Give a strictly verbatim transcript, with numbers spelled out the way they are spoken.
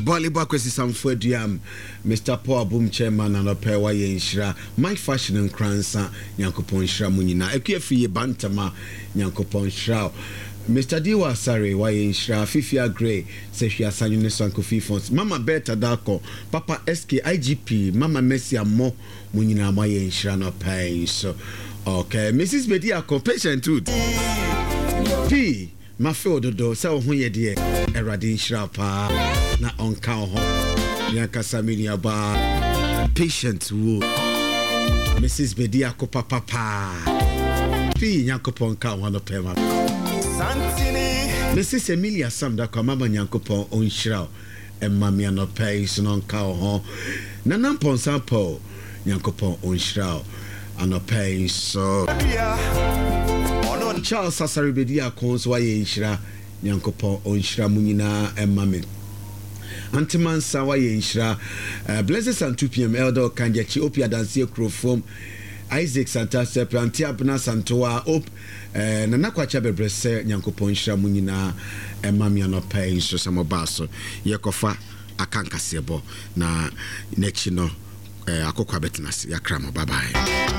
Bɔlebɔ Akwasi Samfo Aduam, Mister Paul Abom Chairman, anɔpɛ wayɛ nhyira. Mike Fashion Nkransa, Nyankopɔn nhyira mu nyinaa. Akua Firi yɛ Bantama, Nyankopɔn nhyira wo. Mister Diwa Asare, wayɛ nhyira. Fifi Agre, Sɛhwi Asanyo ne Sankofi Fons, Mama Berta Darko, Papa S K I G P, Mama Mercy Ammɔ, mo nyinaa moayɛ nhyira nɔpɛ yi so. Okay, Missus Bediako, Patient Wood P, mafe wo dodo sɛ wo ho yɛ deɛ. Awurade nhyira wo paa na ɔnka wo ho. Meankasa me nuabaa Patient Wood, Missus Bediako papapaa pii, Nyankopɔn nka wo ho anɔpɛ ma. Santini. Missus Emilia Sam Dakwa, mama, Nyankopɔn ɔnhyira wo ɛma me anɔpɛ yi so na ɔnka wo ho. Nana Mpɔnsa Paul, Nyankopɔn ɔnhyira wo anɔpɛ yi so. Dua. Ɔno Charles Sasare bɛdi ako nso wayɛ nhyira. Nyankopɔn ɔnhyira mu nyinaa ɛma me. Antemansa wayɛ nhyira. uh, Blessed Santu P M, Elder Ɔkangyakyi Opi, Adanseɛ Kurofom, Isaac Santa Sɛpɛ, Ante Abena Santoa Op, uh, Nana Kwakya Bɛbrɛ sɛ Nyankopɔn nhyira mu nyinaa ɛma me anɔpa yi nso sɛ mɔbaa so. Yɛkɔfa aka nkaseɛbɔ na n'akyi no, uh, akɔkɔ abɛtena ase. Yɛakra mo, bye bye.